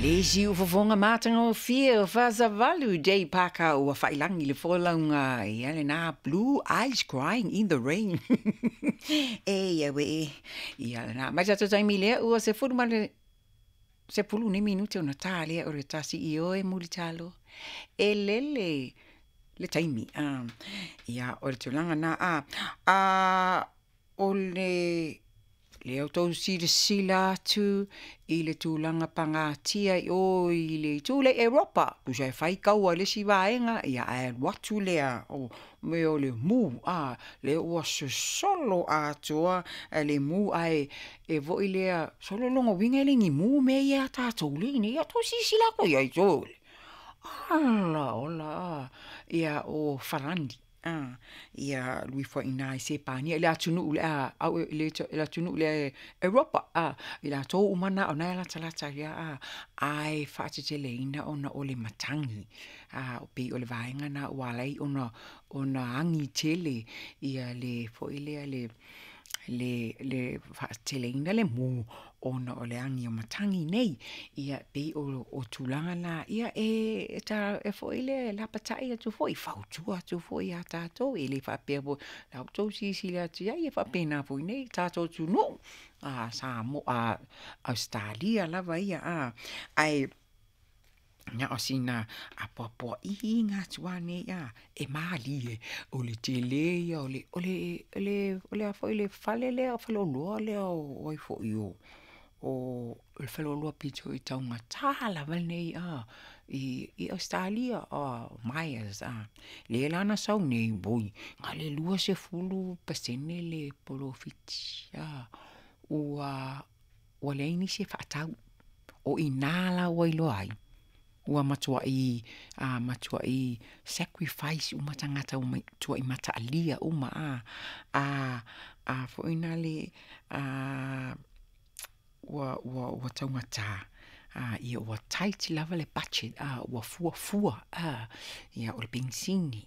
Le isi ufofoga matagofie o Fasavalu Jay Parker ua faailagi le folauga ia lena Blue Eyes Crying in the Rain. E ia we e. Ia lena. Mai tatou taimi lea ua 10 ma le 10 nei minute ona ta lea o le 1 i o e mulitalo. E lele le taimi. Ia o le tulaga na a. A o le lea outou silasila atu i le tulaga pagatia i o i le itu lea i Europa, tusa e fai kaua i le isi vaega, ia ae alu atu lea o mea o le mu, a, lea ua sosolo atoa le mu, ae e foi lea, solo o lona uiga e le ni mu mea ia a tatou lea i inei. Ia outou silasila atu i ai, ala ola, a, ia o Farani, a, ia alu ifo ai i ina i Sepania i le atunuu lea, i le atunuu lea Europa, a, i latou uma na o na e latalata ia, a, ae faateteleina ona o le matagi, a, pei o le vaega na ua ala ai ona, ona agi tele ia le foi lea le, le, le faateteleina le mu ona o le agi o matagi nei. Ia pei o, o tulaga na, ia e, e, ta, e foi lea e lapatai atu foi, fautua atu foi ia tatou, e le faapea foi, la outou silasila atu i ai, e faapena foi nei tatou atunuu, a Samoa, a Ausetalia lava ia, a, ae na o sina apoapoaiga atu lava nei, a, e malie, o le tele ia o le, o le, o le, o le a foi le fale lea, faleoloa lea o ai foi o, o le faleoloa pito i taugata lava lenei, a, i Ausetalia, a, Myers, a, lea la na sau nei, oi, na o le 20% le polofiti, a, ua, ua leai nisi e faatau. O i ina la ua iloa ai, ua matuai, a, matuai sacrifice uma tagata ua matuai mataalia uma, a, a, a foi nale, a, ua, ua, ua taugata, a, ia ua tight lava le budget, a, ua fuafua, a, ia o le penisini,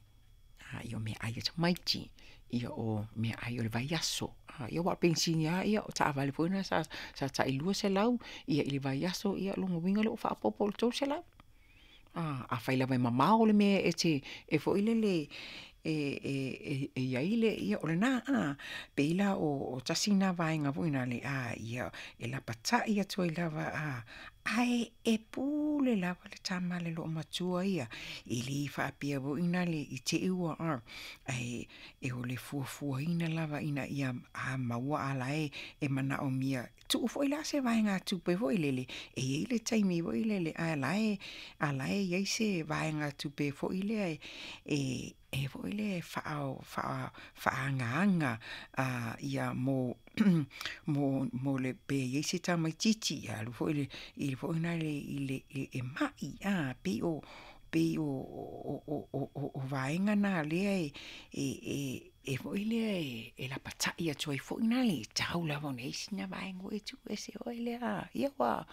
a, ia o meaai a tamaiti, ia o meaai o le vaiaso, a, ia aua o le penisini lava ia o taavale foi na sa, sa tai 200 ia i le vaiaso, ia lona uiga lea ua faaopoopo i le 300. A, afai lava e mamao le mea e te, e foi lele e, e, e, e i ai le, ia o lena, a, pei la o, o tasi lena vaega foi nale, a, ia, e lapatai atu ai lava, a, ae e pule lava le tama a le loomatua ia, e le faapea foi nale i te i ua, a, ae e o le fuafuaina lava ina ia a maua a la e e manaomia tuu foi la se vaegatupe foi lele e i ai le taimi foi lele ae la e a la e i ai se vaegatupe foi lea e e e foi lea e faa faa faaagaaga a ia mo mo mo le pe i ai se tamaitiiti e alu foi le i foi lale i le e ma'i a pei o pei o o o o o vaega na lea e e e e foi lea e lapatai atu ai foi lale e tatau lava ona i ai sina vaega foi e tuu ese foi lea ia ua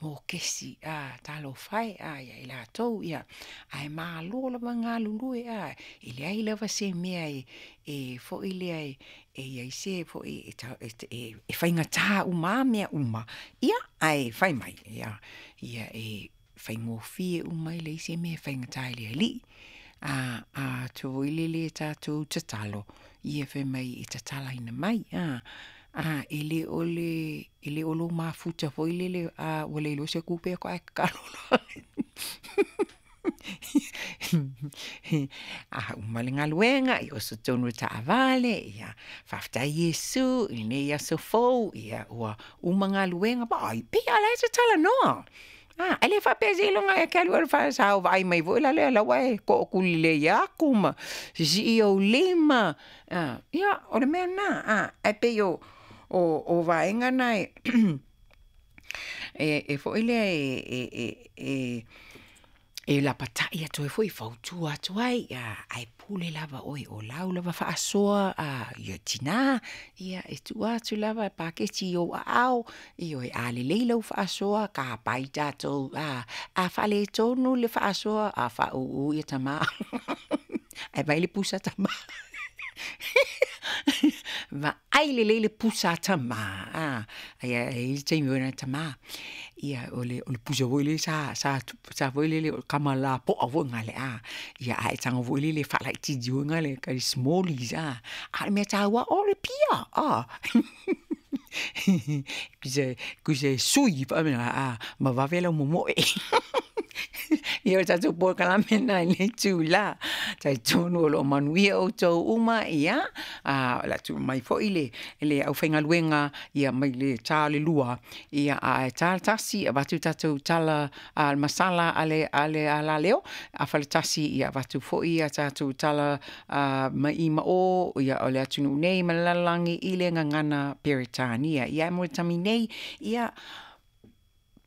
mokesi a talofa e a ia i latou ia ae malo lava galulue a e leai lava se mea e e foi lea e e i ai se foi e, e faigata uma lava mea uma ia ae fai mai ia ia e faigofie uma e leai se mea e faigata i le Alii. A, a atu foi lele tatou tatalo, ia fai mai e tatalaina mai, a, a e le o le, e le o lou mafuta foi lele, a ua le iloa se tupe faatoa e tatalo loa. A uma le galuega, ia oso tonu i le taavale, ia faafetai Iesu i lenei aso fou, ia ua uma galuega, vaai, pei lava o la e te talanoa. A, e le faapea seiloga e te alu i le fale sa vaai mai foi la lea la ua e tootulelei atu ma sisii ou lima. A, ia, o le mea lena, a, ae pei o, o, o vaega na e, e, e foi lea e, e, e, e, e lapatai atu ai foi, fautua atu ai, ae pule lava oe o lau lava faasoa a ia tinā, ia e tuu atu lava e paketi i ou aao, ioe, a lelei lau faasoa, tapai tatou, a, a faaletonu le faasoa, a faauu ia tama. Ae vaai le pusa tama. Vaai lelei le pusa a tamā, a, ae e i ai le taimi foi lea tamā, ia o le pusa foi lea sa sa sa foi lele o le kama lapoa foi gale a, ia a e tago foi lele e faalaitiiti foi gale kai smallies a, a o le mea taua o le pia, a Tusa e sui a ma vave lau momoe. Ia o le tatou polokalame lena i lenei itula. Talitonu o lo o manuia outou uma, ia, a o le a tuu mai foi le le aufaigaluega ia mai le ta o le 2, ia ae ta le 1 avatu tatou tala a masala a le a le alaleo, afa le 1 ia avatu foi a tatou tala mai i ma o ia o le atunuu nei ma le lalolagi i le gagana Peretania. Ia ae mo le taimi nei, ia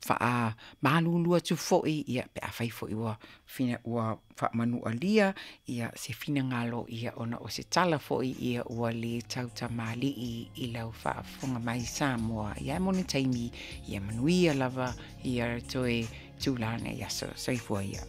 faamalulu atu foi ia pe afai foi ua fina ua faamanualia ia se finagalo ia ona o se tala foi ia ua le tautamalii i lau faafofoga mai Samoa. Ia ae mo le taimi, ia manuia lava ia toe itula lenei aso. Soifua ia.